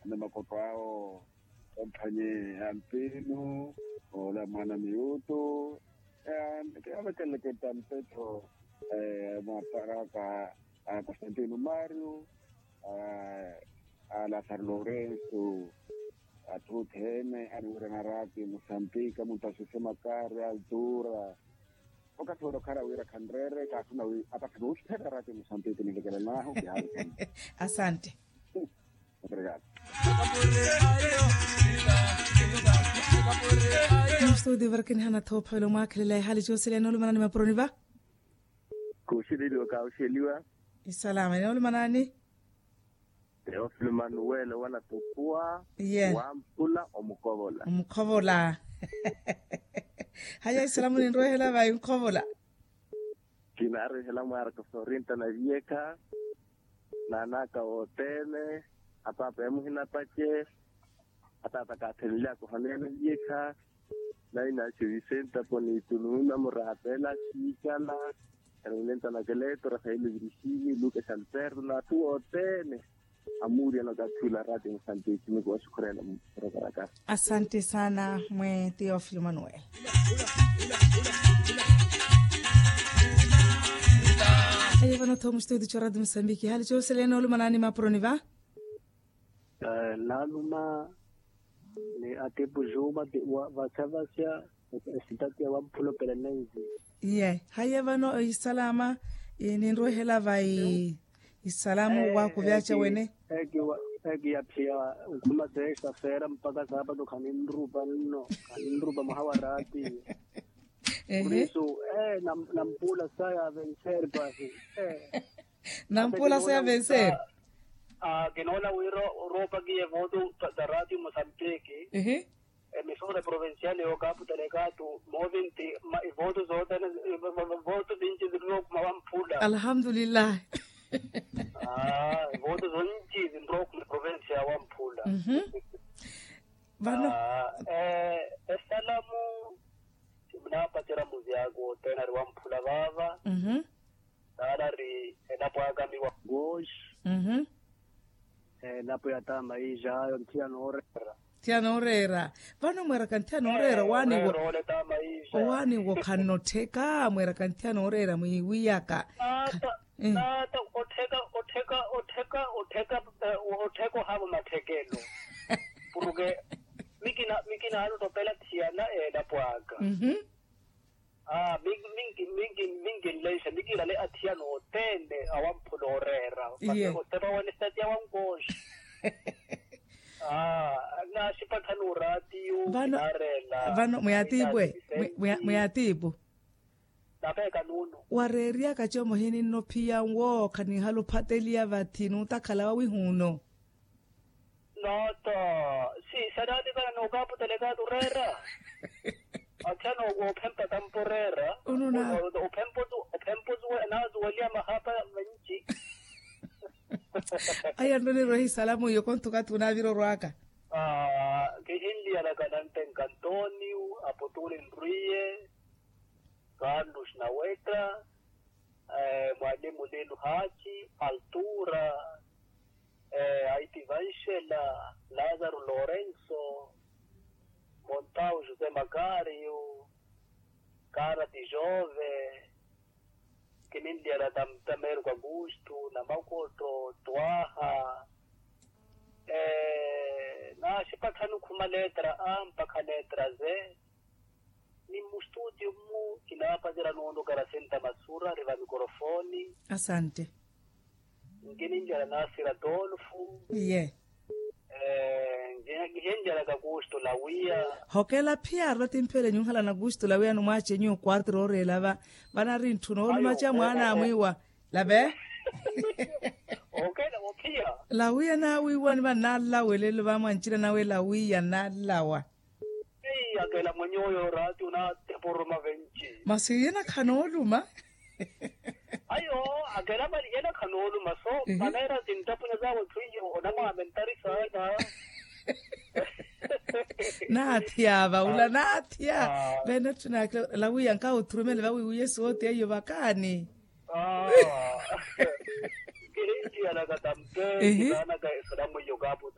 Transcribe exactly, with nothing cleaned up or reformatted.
ni makotto awo, omphanye ampinu, ola mwana miyutu. Kiyavekeleke tampetho mwaparaka, a constantino mario, a lazaro lourenso, athu othene aniwirana rati musambika muntasuse makari altura. Okathi wene okhala wira khanreere kaathuna wi apathana oxittheka rati musambika nivekelanahu kihaavikana. Asante. Obrigado. Mustudio varakinihana thoophavela omwakhelela ehali coosela enoolumanani mapuroni va. Kuxililiwa kaxiliwa. Isalama enoolumanani. Teofilo manuwele wala tukuwa. Iye. Wamphula omukovola. Omukhovola. Haya isalamu ninrwehela vayi nkhovola. Kinaarihela mwaaraka sorinta na viyekha. Naanaka wothene. Apaapa emuhina pace. Ataata kaathenlyaka ohaneya na viyekha. Naina axe visenta ponito nuuna muraapela siikala. Erelenta na keleto rafaeli virixini luka xalterto na athu wothene. Amuuriyana okathi ula rati musanteki mikuwa xikhurela. Murakaraka. Asante sana mwe teofilo manuel. Aye vano thomuxito eti corati musambiki hali coselene olumanani mapuroni va. Naaluma ni atipu juma vasavasya. Esitatiya wamphula opela nenzi. Iye haiye vano ohisalama. Ninrwehela vai isalamu waakuvyaca wene. Eki yaphiya nkhuma seesta feera mpaka saapatu khaninrupa nno. Khaninrupa mwaha wa raati. Kurisu. Nampuula saya vencer pasi. Nampuula saya vencer. Kinoona wira oroopakiye voto za raati musanteki. Emisora provincial yo kapu telekatu movinti. Ivoto zothene voto vinci zirina okhuma wamphula. Alhamdulillahi. Ivoto zonci zinrokhuma provincia wamphula. Vano esalamu simunapacerya muzi aka othene ari wamphula vava. Saala ari elapo aka miwa. Gosh. Elapo ya tamaija ayo nthiyana ooreera. Nthiyana ooreera. Vano mweeraka nthiyana ooreera owaani wo. Owaani wo khanna ottheka mweeraka nthiyana ooreera mwiiwiyaka. Naata naata ottheka ottheka ottheka ottheka ottheka ohaavo matthekelo. Puruke mikina mikina aano ottopela thiyana eelapo aka. Minki minki minki nlenxa mikilale athiyana othene awamphula ooreera. Otepa wene sitatiya wankooxi. Naaxipatthani oraatiyo. Vano vano mwiyatiipwe. Mwiyatiipu. Napeeka nuuno. Wareeriyaka como hininno ophiya nwo khanihala ophateliya vathi nuutakhala wawihuno. Nooto. Si sanaatikana nookaputelekani oreera. Athiyana ophempa tampa oreera. Ophempa ophempa osuweliya mahapa menci. Aya nno nirwehe isalamu iyo konto okathi onavira orwaka. Kihinliyalaka nantenka antonio apotuli nrwiye. Carlos nawetta. Mwalimu lino haci altura. Aiti vanxela. Lazaro lorenso. Montau josé macario. Karati jove. Kininliyana tamtameriku augusto namakotto twaha. Naaxipatthani okhuma letra a mpakha letra ze. Ni mmustudio mmu kinaapacera noonokera senta masura ri va mikorofoni. Asante. Nkininjala nasira tolfu. Iye. Nkihenjalaka kusto lawiya. Hokela phiya arula timphele nyuhala na kusto lawiya numwache nyuwo kwartiro orela va. Vana ri ntthu noolumacha mwana amwiwa. Lave. Okela ophiya. Lawiya nawiwani vana nalawelelo vamwanchina nawe lawiya nalawa. Ei akela mwenye oyo oraati onaateporoma venci. Masi yena khanooluma. Ayo. Akela mali yena khanooluma so maneera sinttapunya zawe twiyo onamwamentari saana. Naathya vaula naathya. Vene ttunakila lawiya nkawo thurumele vawiwiye soote iyo vakaani. Kihintiyanaka tampe. Kitaanaka esalamu iyo kaapu.